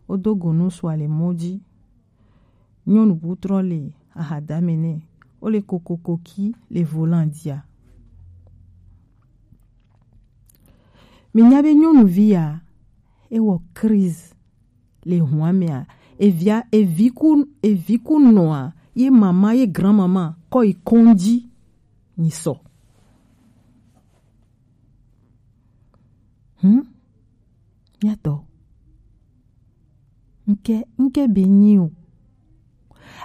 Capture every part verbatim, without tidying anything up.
Wo do go nusu a le mɔ ji. Nyɔnu bu trɔ le ahadame nɛ. Wo le kokokoki le volan ji a. Mi nya be nyɔnuvi a, e wɔ crise le hua mɛ a. Evia, evi ku, evi ku nɔ a, ye mama, ye grand-mama kɔ yi kɔnji. Nyi sɔ. Hmm? Miatɔ. Nke, nke be nyi o.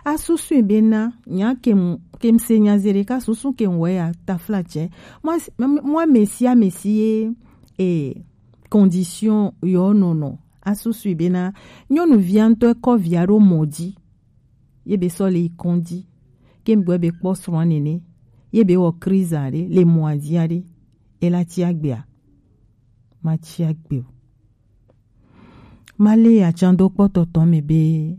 A susu be na, nya kem, kem se nya zere ka susu kem wɛ ya tafla tsɛ. Mwa, mwa mesi a mesi ye, e, condition yɔ nɔnɔ. A susu be na, nyɔnuvia ŋtɔ kɔ via ɖo mɔ ji. Ye be sɔ le yi kɔnji. Ke gbɔ be kpɔ srɔ̃ nene. Ye be wɔ kriza ɖe, le mɔ adia ɖe. E la tsi agbe a. Ma tsi agbe o. Ma le atsando kpɔtɔtɔ me be.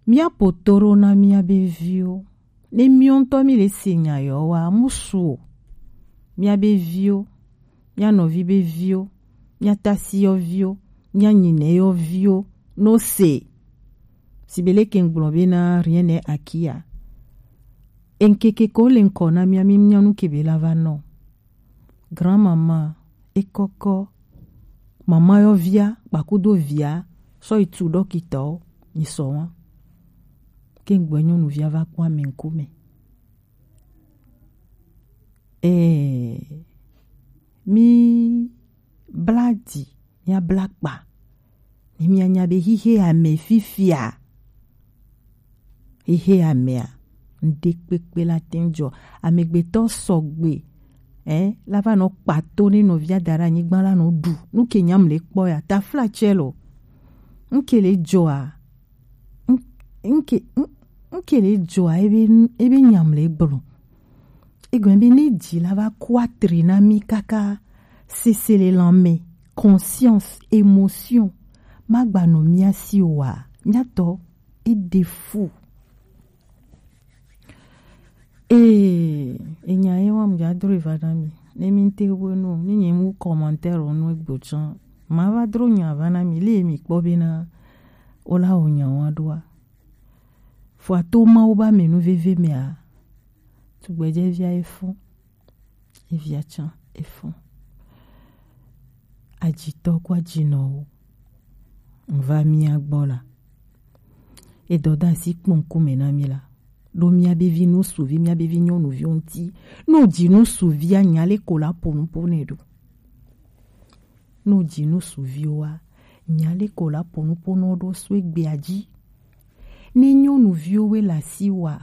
Mia potoro na mia be viwo. Ne miwo ŋtɔ mi le se nya yɔ wa, musu o. Mia be viwo. Mia nɔvi be viwo, mia tasi yɔ viwo, mia nyinɛ yɔ viwo, no se. Sibele ke ŋgblɔ be na rien n'est acquis a. Enkeke ko le ŋkɔ na mia mi mia nu ke be la va nɔ. Grand-mama, e kɔkɔ, mama yɔ via, kpakudo via, sɔ yi tu ɖɔkitɔ, nyi sɔ wa. Ke ŋgbɛ nyɔnuvia va kpɔ ame ŋkume. Ee, mi bla di, mia bla kpa. Ni mia nya be hihe ame fifia. Hihe amea, ŋɖe kpekpe la te ŋu dzɔ. Amegbetɔ sɔgbe, eh, la va nɔ kpato ne nɔvia da ɖe anyigba la nɔ ɖu. Nu ke nyam le kpɔ ya, tafla tsɛ lo. Ŋke le dzɔa, ŋ-, ŋke, ŋ-, ŋke le dzɔa, ebe, ebe nyam le gblɔ. Egɔme be ne dzi la va ku atri na mi kaka, sese le lanmɛ, conscience, émotion, magba nɔ mia si oa, mia tɔ, e de fu. Ee, enya ye wa mu dza dro va na mi. Ne mi te wo no, ni nye mu commentaire no egbo tsan. Ma va dro nya va na mi, le mi kpɔ be na, o la o nya wa ɖoa. Fo ato Mawu ba menu veve mea, tugbedze via efo, evia tsan efo. Adzitɔ kple adzinɔwo, ŋva mia gbɔ la, edɔ da asi kpɔ ŋkume na mi la, ɖo mia be vi ŋusuvi, mia be vi nyɔnuviwo ŋuti. Ne wodzi ŋusuvia, nya le ko la ƒo nu ƒo nɛ ɖo. Ne wodzi ŋusuviwoa, nya le ko la ƒo nu ƒo nɔ ɖo so egbea dzi. Ne nyɔnuviwo we le asi wa,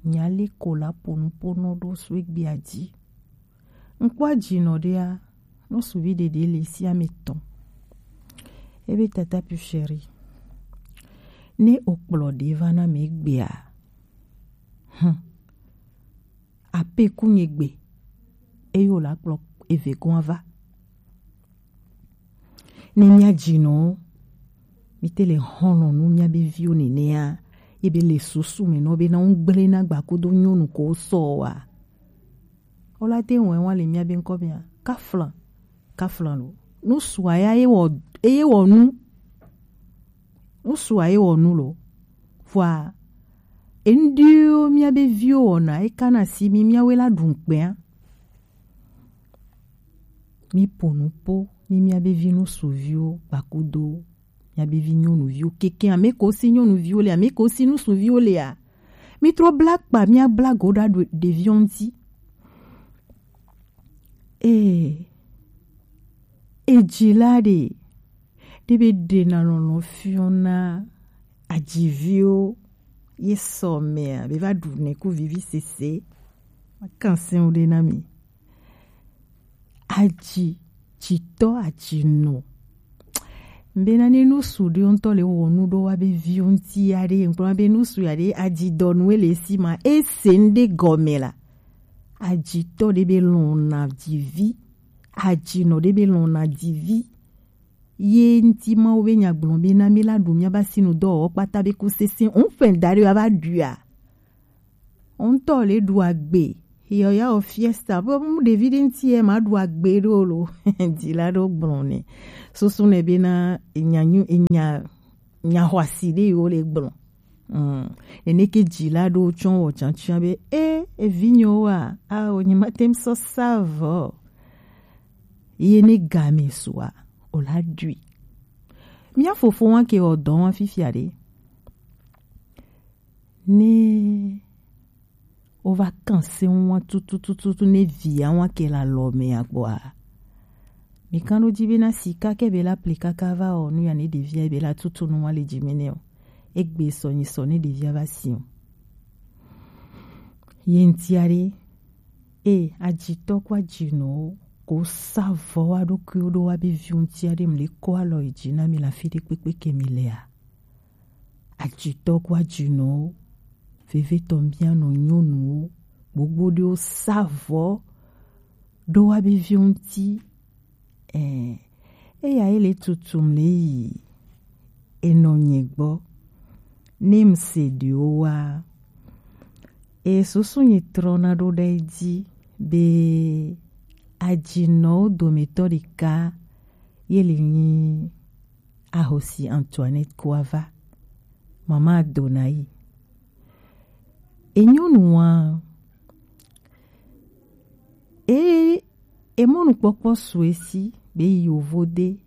nya le ko la ƒo nu ƒo nɔ ɖo so egbea dzi. Ŋkpɔ adzinɔ ɖea, ŋusuvi ɖeɖe le sia me tɔn. Ebe tata pu chéri. Ne okplɔ ɖe va na me egbea, hm, ape ku nye gbe, eye wòle akplɔ eve gɔ̃ ava. Ne mía dzinɔwo, mí te le xɔlɔ̃ nu mía be viwo nenea, ye be le susu me nɔ be na ŋgble na gbakudo nyɔnu ko sɔ wa. Ola te wɔe wa le mía be ŋkɔ mea, kafla, kafla lo. Nu sua ya ye wɔ, ye wɔ nu. Nu sua ye wɔ nu lo. Vɔa, enuɖiwo mía be viwo wɔna, eka na si mi míawoe la ɖu ŋkpea. Mí ƒo nu ƒo ni mía be vi ŋusuviwo gbakudo mía be vi nyɔnuviwo keke ame ko si nyɔnuviwo le, ame ko si ŋusuviwo lea. Mí trɔ bla kpa, mía bla go ɖa ɖo ɖeviwo ŋuti. Ee, edzila ɖe, ɖe be ɖena lɔlɔ̃ fiɔna adziviwo ye sɔ mea, be va ɖu ne ku vivi sese. Makan sɛn wo ɖe na mi. Adzi, dzitɔ adzinɔ. Bena ne nusu ɖe ŋutɔ le wɔ nu ɖo wa be viwo ŋuti ya ɖe, ŋkpɔ be nusu ya ɖe adzidɔnu ele si ma, ese ŋɖe gɔme la. Adzitɔ ɖe be lɔna dzivi. Adzinɔ ɖe be lɔna dzivi. Ye ŋuti Mawu be nya gblɔ be na mi la ɖu mía ba sinu dɔwɔwɔ kpata be ku sese. Ŋfɛ da ɖe wa va ɖuia. Ŋutɔ le ɖu agbe, Yɔ ya o fiesta. Bo mu ɖevi ɖe ŋuti ye ma ɖu agbe ɖo lo. Dzila ɖo gblɔ nɛ. Susu nɛ be na enya nyu, enya, nya xɔasi ɖe yo le gblɔ. Mm. Nene ke dzila ɖo tsɔ wɔ tsantsia be, e, evinyewo wa, a, o nyi ma tem sɔ sa vɔ. Ye ne game sua, o la ɖui. Mía fofo wa ke wɔ dɔ wa fifia ɖe. Ne wova kan se ŋua tutututu ne via ŋua ke le alɔ me agbɔa. Mi kan ɖo dzi be na sika ke be la pli kaka va ɔ nu ya ne ɖevia be la tutu nu ŋua le dzi me nɛ o. Egbe sɔ nyi sɔ ne ɖevia va si o. Ye ŋtia ɖe, e, adzitɔ kɔ adzinɔwo ko sa vɔ wa ɖokuiwo ɖo wa be vi ŋtia ɖe mi le kɔ alɔ yi dzi na mi le afi ɖe kpekpe ke mi lea. Adzitɔ kɔ adzinɔwo, vevetɔ mía nɔ nyɔnuwo, gbogbo ɖewo sa vɔ ɖo wa be vi ŋuti. Ɛ, eya ye le tutum le yi enɔ nye gbɔ. Ne mi se ɖewo wa, e susu nye trɔna ɖo ɖe dzi be adzinɔwo dometɔ ɖeka ye le nyi ahosi Antoinette Koava, mama Adonaï. Enyɔnua, e, emɔnukpɔkpɔ su esi be yi yovode.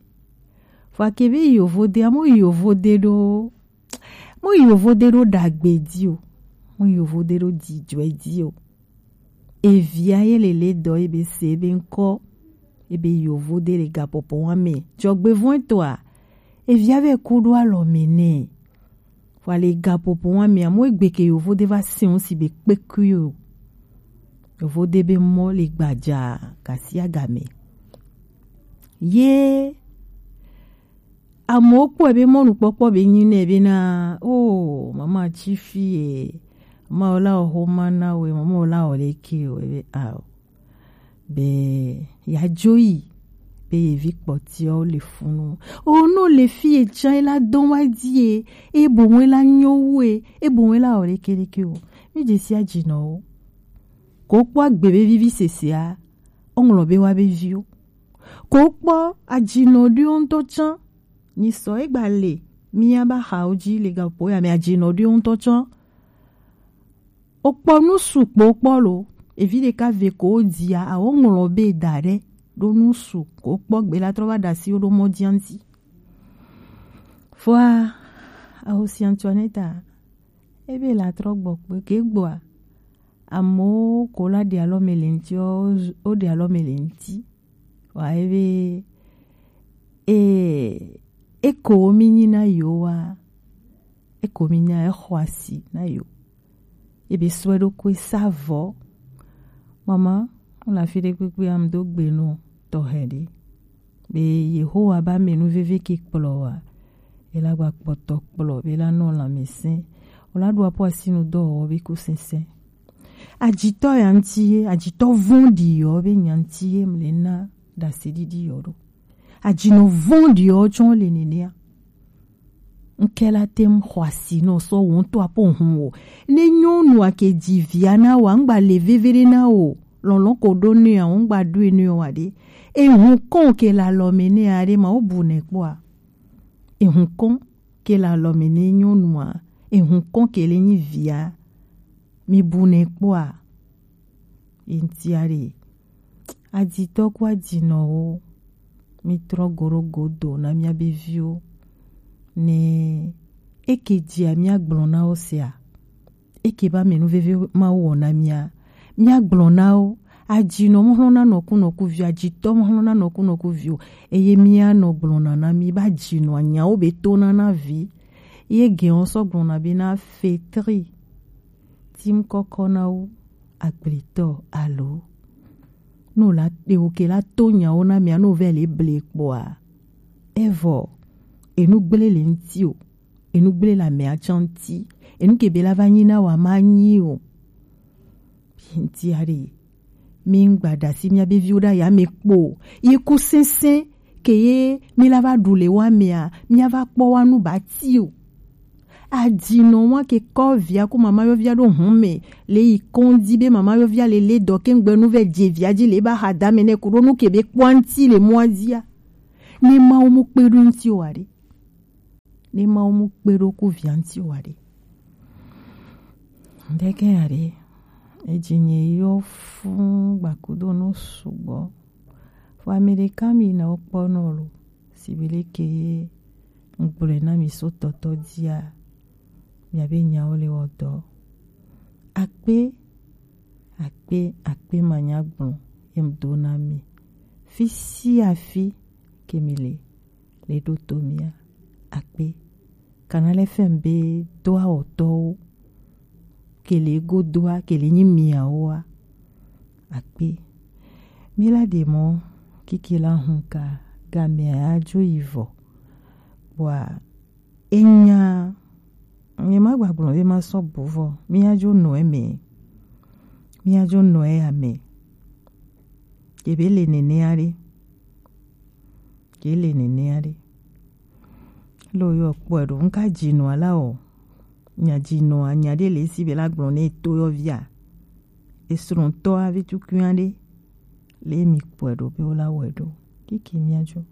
Fɔ ake be yi yovode, amo yi yovode ɖo, mo yi yovode ɖo ɖagbe di o, mo yi yovode ɖo dzidzɔe di o. Evia ye le le dɔ ebe se ebe ŋkɔ ebe yovode le gapopo wa me. Dzɔgbevɔn etɔa, evia vɛ ku ɖo alɔ me nɛ. Wa le gapopo wa me, amo egbe ke yovode va se ŋu si be kpekui o. Yovode be mɔ le gbadza gasiagame. Ye Amewo kpɔe be mɔnukpɔkpɔ be nyi nɛ be na, o, mama tsi fi ye, mama wo la wo xoma na we, mama wo la wo le ke o, ebe a o. Be ya dzo yi be ye vi kpɔtiawo le funu. O, no le fi ye tsa e la dɔn wa di ye, e bo we la nyo wu e, e bo we la wo le ke le ke o. Mi dze si adzi nɔ wo. Ko kpɔ agbe be vivi sesea, o ŋlɔ be wa be viwo. Ko kpɔ adzinɔ ɖiwo ŋutɔ tsã. Nyi sɔ egba le mía ba xawo dzi le gaƒoƒo ya me adzinɔ ɖiwo ŋutɔ tsã. O kpɔ nu su kpo kpɔ lo. Evi ɖeka ve ko wo dzia, awo ŋlɔ be da ɖe ɖo nu su ko kpɔ gbe la trɔ va ɖe asi wo ɖo mɔ dzia ŋuti. Fɔa, ahosi Antoinette, ebe la trɔ gbɔ kpe ke gbɔa, amewo ko la ɖe alɔ me le ŋuti, wo ɖe alɔ me le ŋuti. Wa ebe, e, eko mi nyi na yo wa, eko mi nya exɔ asi na yo. Ebe sɔe ɖo koe sa vɔ. Mama, la fi ɖe kpekpe am do gbe no tɔxɛ ɖe. Be Yehowa ba me nu veve ke kplɔ wa. E la gba kpɔtɔ kplɔ, be la nɔ lãmesẽ. O la ɖo apo asinu dɔ wɔ be ko sesẽ. Adzitɔ ya ŋuti ye, adzitɔ vɔ̃ɖi yɔ be nya ŋuti ye mle na ɖaseɖiɖi yɔ ɖo. Adzinɔ vɔ̃ɖi yɔ tsɔ le nenea. Ŋke la tem xɔ asi nɔ sɔ wo ŋutɔ apo hun o. Ne nyɔnu ake dzi via na wa, ŋgba le veve ɖe na o. Lɔlɔ ko ɖo ne ya, ŋgba ɖo ne wa ɖe. Ehun kɔn ke la lɔ me ne ya ɖe ma wo bu ne kpɔa. Ehun kɔn ke le alɔ me ne nyɔnua, ehun kɔn ke le nyi via, mi bu nɛ kpɔa, ye ŋutia ɖe. Adzitɔ ku adzinɔwo, mi trɔ go ɖo godo na mía be viwo, ne eke dzia mía gblɔ na wo sea, eke ba me nu veve Mawu wɔ na mía. Mía gblɔ na wo, adzinɔ mɔ hlɔna nɔku nɔku vi, adzitɔ mɔ hlɔna nɔku nɔku vi o. Eye mía nɔ gblɔna na mí ba adzinɔ anyawo be tona na vi. Ye gɛn wo sɔ gblɔna be na fetri. Tim kɔkɔ na wo agblitɔ alo. No la ewo ke la to nyawo na mía no vɛ le ble kpɔa. Evɔ, enu gble le ŋuti o. Enu gble le amea tsã ŋuti. Enu ke be la va nyi na wa ma nyi o. Ŋuti aɖe. Mi ŋgba ɖe asi mía be viwo ɖe aya me kpo o. Ye ku sesẽ ke ye mi la va ɖu le wa mea, mía va kpɔ wa nu ba ti o. Adinɔ wa ke kɔ via ku mama yɔvia ɖo hun mɛ le yi kɔndi be mama yɔvia le le dɔ ke ŋgbɛ nu vɛ je via ji le ba ha dame nɛ ku ɖo nu ke be kpɔnti le mɔa dia. Ne Mawu mu kpe ɖo ŋti o aɖe. Ne Mawu mu kpe ɖo ku via ŋti o aɖe. Ɖeke aɖe. Edzi nye yɔ fun gbakudo nu sugbɔ. Vɔ ame ɖeka mi na wo kpɔ nɔ lo. Sibi leke ye ŋgblɔe na mi so tɔtɔ dia. Miabe nyawo le wɔ dɔ. Akpe, akpe, akpe manya gblɔ ye m do na mi. Fi sia fi ke mi le, le ɖo to mia. Akpe. Kana le fɛn be do awɔtɔwo. Kele godoa, kele nyi miawoa. Akpe. Mi la de mɔ kiki la hun ka game adzo yi vɔ. Bua enya nye ma gbagblɔ be ma sɔ bu vɔ. Mi adzo nɔ eme. Mi adzo nɔ eme. Ebe le nenea ɖe. Ke le nenea ɖe. Lo yɔ kpɔe ɖo. Ŋka dzinɔa la o. Nya dzinɔa, nya ɖe le esi be la gblɔ ne to yɔ via. Esrɔ̃tɔ avi tukui aɖe. Le mi kpɔe ɖo be wo la wɔe ɖo. Kiki mi adzo.